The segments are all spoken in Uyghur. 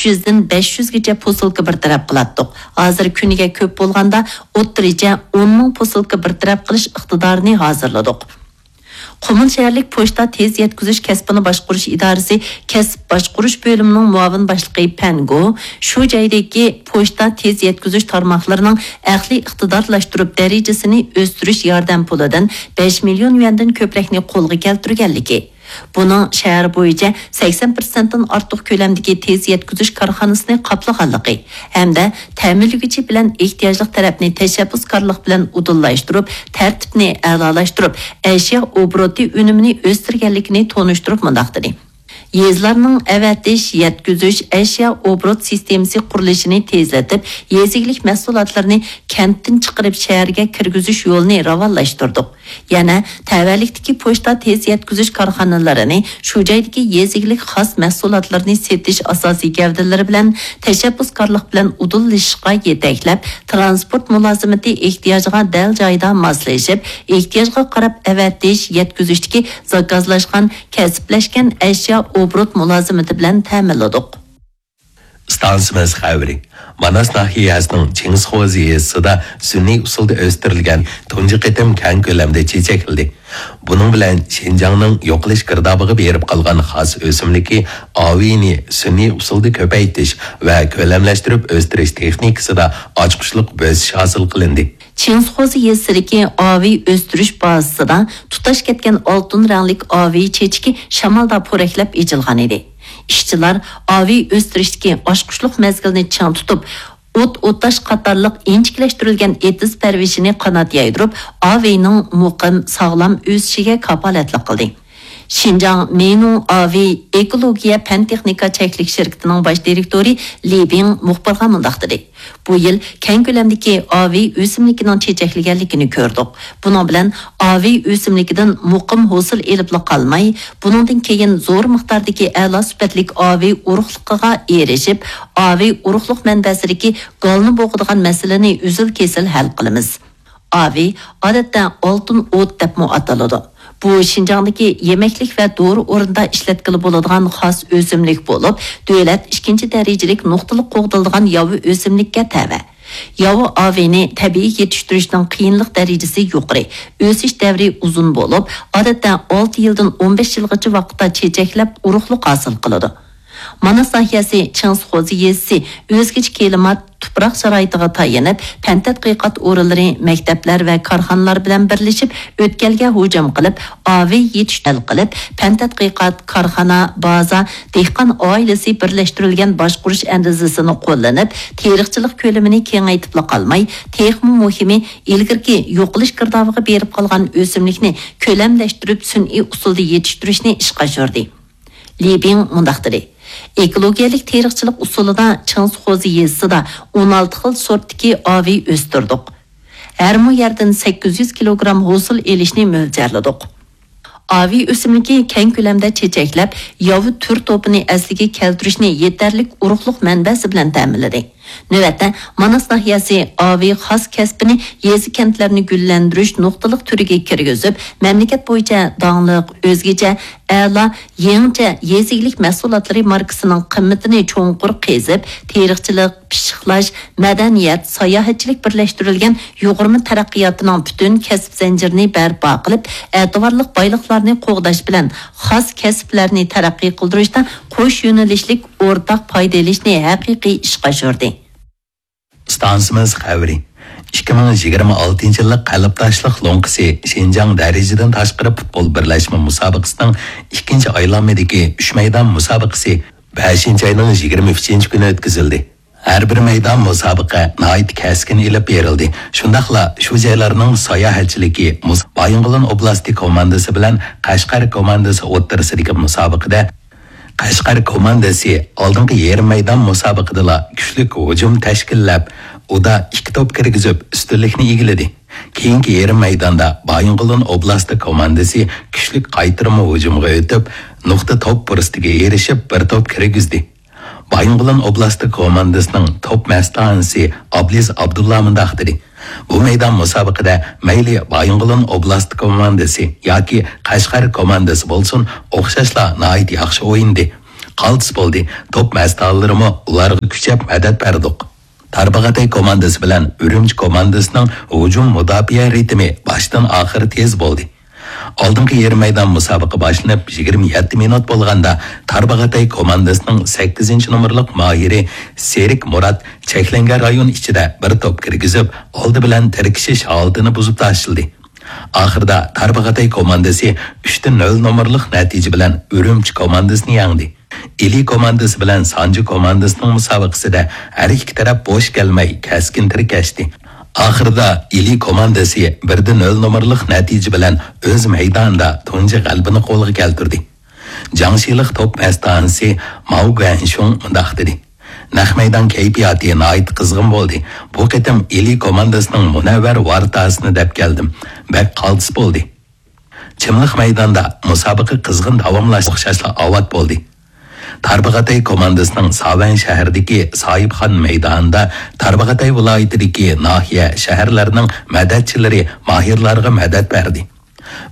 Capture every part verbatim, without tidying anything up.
يۈزدىن بەش يۈزگىچە پوسۇلكا بىر تەرەپ قىلاتتۇق. ھازىر كۈنىگە كۆپ بولغاندا ئوتتۇرىچە ئون مىڭ پوسۇلكا بىر تەرەپ قىلىش ئىقتىدارىنى ھازىرلىدۇق. قۇمۇل شەھەرلىك پوچتا تېز يەتكۈزۈش كەسپىنى باشقۇرۇش ئىدارىسى كەسىپ باشقۇرۇش بۆلۈمىنىڭ مۇئاۋىن باشلىقى پەن گو شۇ جايدىكى پوچتا تېز يەتكۈزۈش تارماقلىرىنىڭ ئەقلىي ئىقتىدارلاشتۇرۇپ دەرىجىسىنى ئۆستۈرۈش ياردەم پۇلىدىن بەش مىليون يۈەندىن كۆپرەكنى قولغا كەلتۈرگەنلىكى، بۇنىڭ شەھەر بويىچە سەكسەن پىرسەنتتىن ئارتۇق كۆلەمدىكى تېز يەتكۈزۈش كارخانىسىنى قاپلىغانلىقى ھەمدە تەمىنلىگۈچى بىلەن ئېھتىياجلىق تەرەپنى تەشەببۇسكارلىق بىلەن ئۇدۇللاشتۇرۇپ، تەرتىپنى ئەلالاشتۇرۇپ، ئەشيا ئوبوروتى ئۈنۈمىنى ئۆستۈرگەنلىكىنى تونۇشتۇرۇپ مۇنداق دېدى: يېزىلارنىڭ ئەۋەتىش، يەتكۈزۈش، ئەشيا ئوبوروت سىستېمىسى قۇرۇلۇشىنى تېزلىتىپ، يېزا ئىگىلىك مەھسۇلاتلىرىنى كەنتتىن چىقىرىپ شەھەرگە كىرگۈزۈش يولىنى راۋانلاشتۇردۇق. يەنە تەۋەلىكتىكى پوچتا تېز يەتكۈزۈش كارخانىلىرىنى شۇ جايدىكى يېزا ئىگىلىك خاس مەھسۇلاتلىرىنى سېتىش ئاساسىي گەۋدىلىرى بىلەن تەشەببۇسكارلىق بىلەن ئۇدۇللىشىشقا يېتەكلەپ، تىرانسپورت مۇلازىمىتى ئېھتىياجىغا دەل جايىدا ماسلىشىپ، ئېھتىياجغا قاراپ ئەۋەتىش، يەتكۈزۈشتىكى زاكازلاشقان، كەسىپلەشكەن ئەشيا ئوبوروت مۇلازىمىتى بىلەن تەمىنلىدۇق. ئىستانسىمىز خەۋىرى. ماناس ناھىيەسىنىڭ چىڭسىخوزى يېزىسىدا سۈنئىي ئۇسۇلدا ئۆستۈرۈلگەن تۇنجى قېتىم كەڭ كۆلەمدە چېچەكلىدى. بۇنىڭ بىلەن شىنجاڭنىڭ يوقىلىش گىردابىغا بېرىپ قالغان خاس ئۆسۈملۈكى ئاۋېينى سۈنئىي ئۇسۇلدا كۆپەيتىش ۋە كۆلەملەشتۈرۈپ ئۆستۈرۈش تېخنىكىسىدا ئاچقۇچلۇق بۆسۈش ھاسىل قىلىندى. چىڭسىخوزى يېزىسىدىكى ئاۋېي ئۆستۈرۈش بازىسىدا تۇتاش كەتكەن ئالتۇن رەڭلىك ئاۋېي چېچىكى شامالدا پورەكلەپ ئېچىلغان ئىدى. ئىشچىلار ئاۋېي ئۆستۈرۈشتىكى ئاچقۇچلۇق مەزگىلنى چىڭ تۇتۇپ، ئوت ئوتاش قاتارلىق ئىنچىكىلەشتۈرۈلگەن ئېتىز پەرۋىشىنى قانات يايدۇرۇپ، ئاۋېينىڭ مۇقىم، ساغلام ئۆسۈشىگە كاپالەتلىك قىلدى. شىنجاڭ مېينۇڭ ئاۋېي ئېكولوگىيە پەن تېخنىكا چەكلىك شىركىتىنىڭ باش دىرېكتورى لى بىڭ مۇخبىرغا مۇنداق دېدى: بۇ يىل كەڭ كۆلەمدىكى ئاۋېي ئۆسۈملۈكىنىڭ چېچەكلىگەنلىكىنى كۆردۇق. بۇنىڭ بىلەن ئاۋېي ئۆسۈملۈكىدىن مۇقىم ھوسۇل ئېلىپلا قالماي، بۇنىڭدىن كېيىن زور مىقداردىكى ئەلا سۈپەتلىك ئاۋېي ئۇرۇقلۇقىغا ئېرىشىپ، ئاۋېي ئۇرۇقلۇق مەنبەسىدىكى گالنى بوغىدىغان مەسىلىنى ئۈزۈل-كېسىل ھەل قىلىمىز. ئاۋېي ئادەتتە ئالتۇن ئوت دەپمۇ ئاتىلىدۇ. بۇ شىنجاڭدىكى يېمەكلىك ۋە دورا ئورنىدا ئىشلەتكىلى بولىدىغان خاس ئۆسۈملۈك بولۇپ، دۆلەت ئىككىنچى دەرىجىلىك نۇقتىلىق قوغدىلىدىغان ياۋا ئۆسۈملۈككە تەۋە. ياۋا ئاۋېينى تەبىئىي يېتىشتۈرۈشنىڭ قىيىنلىق دەرىجىسى يۇقىرى، ئۆسۈش دەۋرى ئۇزۇن بولۇپ، ئادەتتە ئالتە يىلدىن ئون بەش يىلغىچە ۋاقىتتا چېچەكلەپ، ئۇرۇقلۇق ھاسىل قىلىدۇ. ماناس ناھىيەسى چىڭسىخوزى يېزىسى ئۆزگىچە كىلىمات، تۇپراق شارائىتىغا تايىنىپ، پەن تەتقىقات ئورۇنلىرى، مەكتەپلەر ۋە كارخانىلار بىلەن بىرلىشىپ ئۆتكەلگە ھۇجۇم قىلىپ، ئاۋېي يېتىشتۈرۈش قىلىپ، پەن تەتقىقات، كارخانا، بازا، دېھقان ئائىلىسى بىرلەشتۈرۈلگەن باشقۇرۇش ئەندىزىسىنى قوللىنىپ، تېرىقچىلىق كۆلىمىنى كېڭەيتىپلا قالماي، تېخىمۇ مۇھىمى، ئىلگىرىكى يوقىلىش گىردابىغا بېرىپ قالغان ئۆسۈملۈكنى كۆلەملەشتۈرۈپ، سۈنئىي ئۇسۇلدا يېتىشتۈرۈشنى ئىشقا ئاشۇردى. لى بىڭ مۇنداق دېدى: ئېكولوگىيەلىك تېرىقچىلىق ئۇسۇلىدا چىڭسىخوزى يېزىسىدا ئون ئالتە خىل سورتتىكى ئاۋېي ئۆستۈردۇق. ھەر مو يەردىن سەككىز يۈز كىلوگرام ھوسۇل ئېلىشنى مۆلچەرلىدۇق. ئاۋېي ئۆسۈملۈكى كەڭ كۆلەمدە چېچەكلەپ، ياۋا تۈر توپىنى ئەسلىگە كەلتۈرۈشنى يېتەرلىك ئۇرۇقلۇق مەنبەسى بىلەن تەمىنلىدى. نۆۋەتتە، ماناس ناھىيەسى ئاۋېي خاس كەسپىنى يېزا-كەنتلەرنى گۈللەندۈرۈش نۇقتىلىق تۈرىگە كىرگۈزۈپ، مەملىكەت بويىچە داڭلىق، ئۆزگىچە، ئەلا، يېڭىچە يېزا ئىگىلىك مەھسۇلاتلىرى ماركىسىنىڭ قىممىتىنى چوڭقۇر قېزىپ، تېرىقچىلىق، پىششىقلاش، مەدەنىيەت، ساياھەتچىلىك بىرلەشتۈرۈلگەن يۇغۇرما تەرەققىياتىنىڭ پۈتۈن كەسىپ زەنجىرىنى بەرپا قىلىپ، ئەتىۋارلىق بايلىقلارنى قوغداش بىلەن خاس كەسىپلەرنى تەرەققىي قىلدۇرۇشتا قوش يۆنىلىشلىك ئورتاق پايدا ئېلىشنى ھەقىقىي ئىشقا ئاشۇردى. ئىستانسىمىز خەۋىرى. ئىككى مىڭ يىگىرمە ئالتىنچى يىللىق قەلبداشلىق لوڭقىسى شىنجاڭ دەرىجىدىن تاشقىرى پۇتبول بىرلەشمە مۇسابىقىسىنىڭ ئىككىنچى ئايلانمىدىكى ئۈچ مەيدان مۇسابىقىسى بەشىنچى ئاينىڭ يىگىرمە ئۈچىنچى كۈنى ئۆتكۈزۈلدى. ھەر بىر مەيدان مۇسابىقە ناھايىتى كەسكىن ئېلىپ بېرىلدى. شۇنداقلا شۇ جايلارنىڭ ساياھەتچىلىكى مۇس-، بايىنغولىن ئوبلاستى كوماندىسى بىلەن قەشقەر كوماندىسى ئوتتۇرىسىدىكى مۇسابىقىدە قەشقەر كوماندىسى ئالدىنقى يېرىم مەيدان مۇسابىقىدىلا كۈچلۈك ھۇجۇم تەشكىللەپ، ئۇدا ئىككى توپ كىرگۈزۈپ، ئۈستۈنلۈكنى ئىگىلىدى. كېيىنكى يېرىم مەيداندا بايىنغولىن ئوبلاستى كوماندىسى كۈچلۈك قايتۇرما ھۇجۇمغا ئۆتۈپ، نۇقتا توپ پۇرسىتىگە ئېرىشىپ، بىر توپ كىرگۈزدى. بايىنغولىن ئوبلاستى كوماندىسىنىڭ توپ مەستانىسى ئابلىز ئابدۇللا مۇنداق دېدى: بۇ مەيدان مۇسابىقىدە مەيلى بايىنغولىن ئوبلاستى كوماندىسى ياكى قەشقەر كوماندىسى بولسۇن، ئوخشاشلا ناھايىتى ياخشى ئوينىدى. قالتىس بولدى. توپ مەستانىلىرىمۇ ئۇلارغا كۈچەپ مەدەت بەردۇق. تارباغاتاي كوماندىسى بىلەن ئۈرۈمچى كوماندىسىنىڭ ھۇجۇم مۇداپىئە رىتىمى باشتىن ئاخىر تېز بولدى. ئالدىنقى يېرىم مەيدان مۇسابىقە باشلىنىپ يىگىرمە يەتتە مىنۇت بولغاندا، تارباغاتاي كوماندىسىنىڭ سەككىزىنچى نومۇرلۇق ماھىرى سېرىك مۇرات چەكلەنگەن رايون ئىچىدە بىر توپ كىرگۈزۈپ، ئالدى بىلەن تىركىشىش ھالىتىنى بۇزۇپ تاشلىدى. ئاخىرىدا تارباغاتاي كوماندىسى ئۈچتە نۆل نومۇرلۇق نەتىجە بىلەن ئۈرۈمچى كوماندىسىنى يەڭدى. ئىلى كوماندىسى بىلەن سانجى كوماندىسىنىڭ مۇسابىقىسىدە ھەر ئىككى تەرەپ بوش كەلمەي كەسكىن تىركەشتى. ئاخىرىدا ئىلى كوماندىسى بىردە نۆل نومۇرلۇق نەتىجە بىلەن ئۆز مەيدانىدا تۇنجى غەلىبىنى قولغا كەلتۈردى. جاڭشىلىق توپ مەستانىسى ماۋ گۇەنشۇڭ مۇنداق دېدى: نەق مەيدان كەيپىياتى ناھايىتى قىزغىن بولدى. بۇ قېتىم ئىلى كوماندىسىنىڭ مۇنەۋۋەر ۋارتاسىنى دەپ كەلدىم. بەك قالتىس بولدى. چىملىق مەيداندا مۇسابىقە قىزغىن داۋاملاشتى. ئوخشاشلا ئاۋات بولدى. تارباغاتاي كوماندىسىنىڭ ساۋەن شەھىرىدىكى ساھىبخان مەيدانىدا تارباغاتاي ۋىلايىتىدىكى ناھىيە، شەھەرلەرنىڭ مەدەتچىلىرى ماھىرلارغا مەدەت بەردى.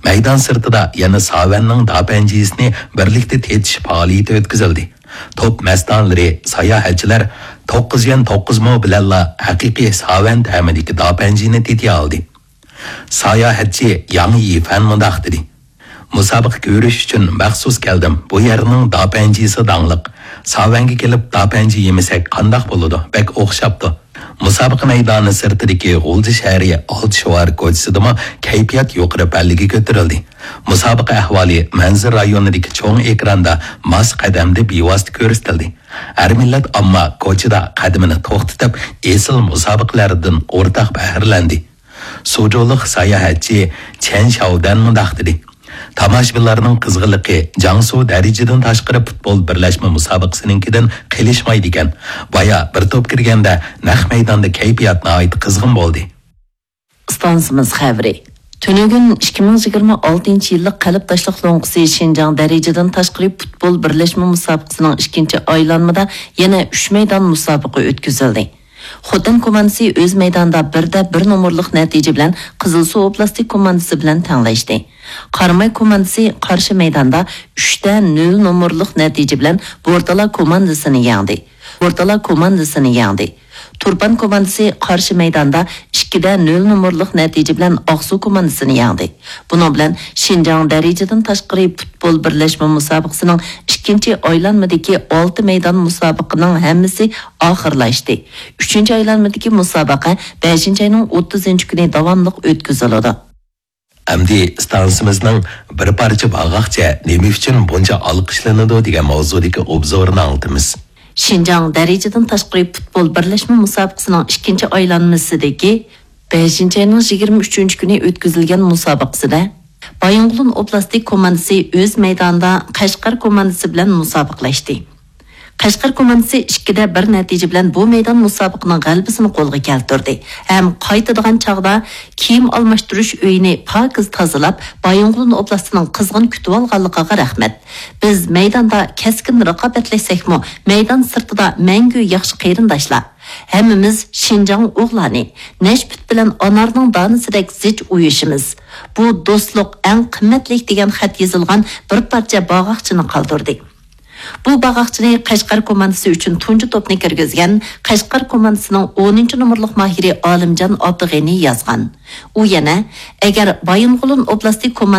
مەيدان سىرتىدا يەنە ساۋەننىڭ داپەنجىسىنى بىرلىكتە تېتىش پائالىيىتى ئۆتكۈزۈلدى. توپ مەستانىلىرى، ساياھەتچىلەر توققۇز يۈەن توققۇز مو بىلەنلا ھەقىقىي ساۋەن تەمىدىكى داپەنجىنى تېتىيالىدى. ساياھەتچى ياڭ يىفەن مۇنداق دېدى: مۇسابىقە كۆرۈش ئۈچۈن مەخسۇس كەلدىم. بۇ يەرنىڭ داپەنجىسى داڭلىق. ساۋەنگە كېلىپ داپەنجى يېمىسەك قانداق بولىدۇ؟ بەك ئوخشاپتۇ. مۇسابىقە مەيدانى سىرتىدىكى غۇلجا شەھىرى ئالتە شوۋار كوچىسىدىمۇ كەيپىيات يۇقىرى پەللىگە كۆتۈرۈلدى. مۇسابىقە ئەھۋالى مەنزىرە رايونىدىكى چوڭ ئېكراندا ماس قەدەمدە بىۋاسىتە كۆرسىتىلدى. ھەر مىللەت ئامما كوچىدا قەدىمىنى توختىتىپ، ئېسىل مۇسابىقىلەردىن ئورتاق بەھرىلەندى. سۇجۇلۇق ساياھەتچى چەن شاۋدەن مۇنداق دېدى: تاماشىبىنلارنىڭ قىزغىنلىقى جياڭسۇ دەرىجىدىن تاشقىرى پۇتبول بىرلەشمە مۇسابىقىسىنىڭكىدىن قېلىشمايدىكەن. بايا بىر توپ كىرگەندە نەق مەيداندا كەيپىيات ناھايىتى قىزغىن بولدى. ئىستانسىمىز خەۋىرى. تۈنۈگۈن ئىككى مىڭ يىگىرمە ئالتىنچى يىللىق قەلبداشلىق لوڭقىسى شىنجاڭ دەرىجىدىن تاشقىرى پۇتبول بىرلەشمە مۇسابىقىسىنىڭ ئىككىنچى ئايلانمىدا يەنە ئۈچ مەيدان مۇسابىقە ئۆتكۈزۈلدى. خوتەن كوماندىسى ئۆز مەيدانىدا بىردە بىر نومۇرلۇق نەتىجە بىلەن قىزىلسۇ ئوبلاستى كوماندىسى بىلەن تەڭلەشتى. قاراماي كوماندىسى قارشى مەيداندا ئۈچتە نۆل نومۇرلۇق نەتىجە بىلەن بورتالا كوماندىسىنى يەڭدى. بورتالا كوماندىسىنى يەڭدى. تۇرپان كوماندىسى قارشى مەيداندا ئىككىدە نۆل نومۇرلۇق نەتىجە بىلەن ئاقسۇ كوماندىسىنى يەڭدى. بۇنىڭ بىلەن شىنجاڭ دەرىجىدىن تاشقىرى پۇتبول بىرلەشمە مۇسابىقىسىنىڭ ئىككىنچى ئايلانمىدىكى ئالتە مەيدان مۇسابىقىنىڭ ھەممىسى ئاخىرلاشتى. ئۈچىنچى ئايلانمىدىكى مۇسابىقە بەشىنچى ئاينىڭ ئوتتۇزىنچى كۈنى داۋاملىق ئۆتكۈزۈلىدۇ. ئەمدى ئىستانسىمىزنىڭ بىر پارچە باغاقچە نېمە ئۈچۈن بۇنچە ئالقىشلىنىدۇ دېگەن ماۋزۇدىكى ئوبزورىنى ئاڭلىتىمىز. شىنجاڭ دەرىجىدىن تاشقىرى پۇتبول بىرلەشمە مۇسابىقىسىنىڭ ئىككىنچى ئايلانمىسىدىكى بەشىنچى ئاينىڭ يىگىرمە ئۈچىنچى كۈنى ئۆتكۈزۈلگەن مۇسابىقىسىدە بايىنغولىن ئوبلاستى كوماندىسى ئۆز مەيدانىدا قەشقەر كوماندىسى بىلەن مۇسابىقىلەشتى. قەشقەر كوماندىسى ئىككىدە بىر نەتىجە بىلەن بۇ مەيدان مۇسابىقىنىڭ غەلىبىسىنى قولغا كەلتۈردى ھەم قايتىدىغان چاغدا كىيىم ئالماشتۇرۇش ئۆيىنى پاكىز تازىلاپ، بايىنغولىن ئوبلاستىنىڭ قىزغىن كۈتۈۋالغانلىقىغا رەھمەت. بىز مەيداندا كەسكىن رىقابەتلەشسەكمۇ، مەيدان سىرتىدا مەڭگۈ ياخشى قېرىنداشلار. ھەممىمىز شىنجاڭ ئوغلانى، نەشپۈت بىلەن ئانارنىڭ دانىسىدەك زىچ ئۇيۇشىمىز. بۇ دوستلۇق ئەڭ قىممەتلىك دېگەن خەت يېزىلغان بىر پارچە باغاقچىنى قالدۇردى. بۇ باغاقچىنى قەشقەر كوماندىسى ئۈچۈن تۇنجى توپنى كىرگۈزگەن قەشقەر كوماندىسىنىڭ ئونىنچى نومۇرلۇق ماھىرى ئالىمجان ئابدۇغېنى يازغان. ئۇ يەنە، ئەگەر بايىنغولىن ئوبلاستى كوماندىسى